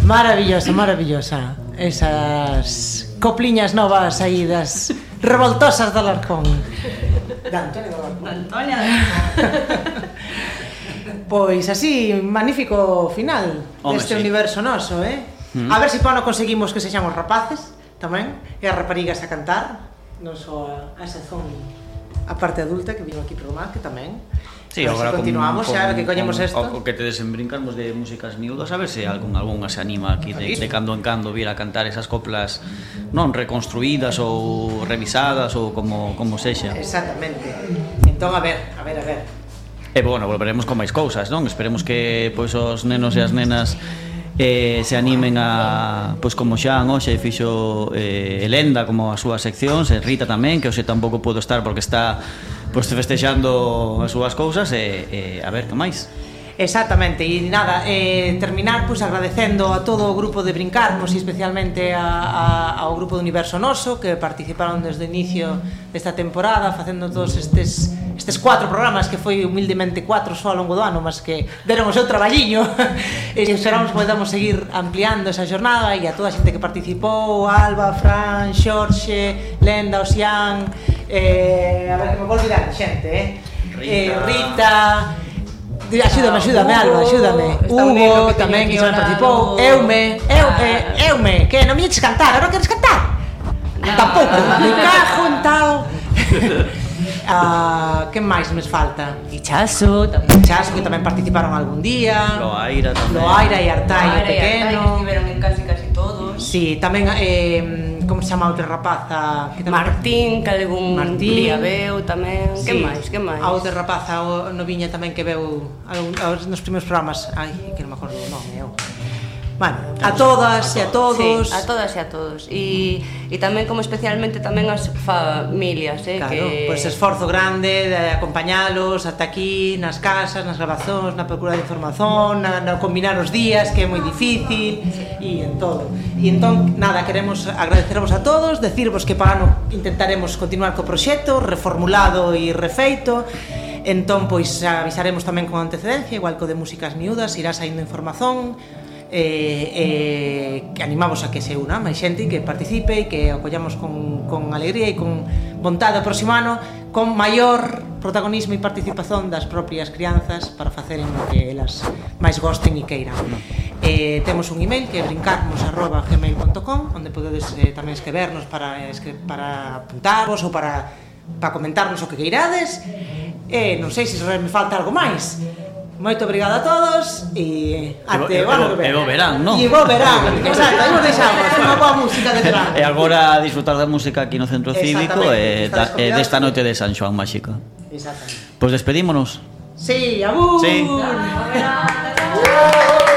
Maravillosa, maravillosa. Esas copliñas novas aí das revoltosas de Alarcón. Da Antonia do Alarcón. Antonia. Pois así, magnífico final deste universo noso, A ver se pano conseguimos que sexamos rapaces tamén, e as raparigas a cantar, non só a sazón a parte adulta que vino aquí programa, que tamén. Sí, agora continuamos, xa que collemos isto. O que te desenbrincamos de músicas miúdas, a ver se algunha se anima aquí de cando en cando vir a cantar esas coplas non reconstruídas ou revisadas ou como sexa. Exactamente. Entón, a ver. E bueno, volveremos con máis cousas, non? Esperemos que pois os nenos e as nenas se animen a, pois como xa hoxe fixo Elenda como as súas seccións, e Rita tamén, que hoxe tampouco podo estar porque está pois festexando as súas cousas e a ver que máis. Exactamente, e nada, terminar pois agradecendo a todo o grupo de Brincarnos e especialmente ao grupo do Universo Noso que participaron desde o inicio desta temporada facendo todos estes 4 programas que foi humildemente 4 só ao longo do ano, mas que deron o seu traballiño e esperamos que podamos seguir ampliando esa jornada e a toda a xente que participou, Alba, Fran, Xorxe, Lenda, Osián, a ver que me vou olvidar xente, Rita, axúdame Alba, axúdame, Hugo tamén que xa participou, Eume, que non me eches cantar, non queres cantar? Tampouco, me cajo en tal. Que máis nos falta? Ichazo que tamén participaron algún día, Loaira tamén, Loaira e Artai o pequeno, que estiveron en casi todos. Sí, tamén, como se chama outra rapaza? Martín, que algún día veu tamén. Sí. Que máis? A outra rapaza, o noviña tamén que veu nos primeiros programas. Ai, que non me acordo o nome, Bueno, a todas e a todos. Sí, a todas e a todos. E tamén como especialmente tamén as familias, Claro, que pois esforzo grande de acompañalos ata aquí, nas casas, nas grabazóns, na procura de información, na combinar os días, que é moi difícil, e en todo. E entón, nada, queremos agradecervos a todos, decirvos que para ano intentaremos continuar co proxecto, reformulado e refeito. Entón, pois, avisaremos tamén con antecedencia, igual co de músicas miúdas, irá saindo información, que animamos a que se una máis xente, que participe e que acollamos con alegría e con vontade o próximo ano, con maior protagonismo e participación das propias crianzas para faceren o que elas máis gosten e queiran. Temos un email que é brincarnos@gmail.com, onde podedes tamén escribernos para apuntarvos ou para comentarnos o que queirades. Non sei se me falta algo máis. Moito obrigado a todos e até o ano que ven. E bo verán, non? E bo verán, exacto, aí nos deixamos unha boa música de verán. E agora disfrutar da música aquí no Centro Cívico e desta noite de San Xoán máxica. Exactamente. Pois despedímonos. Sí, abur! Sí.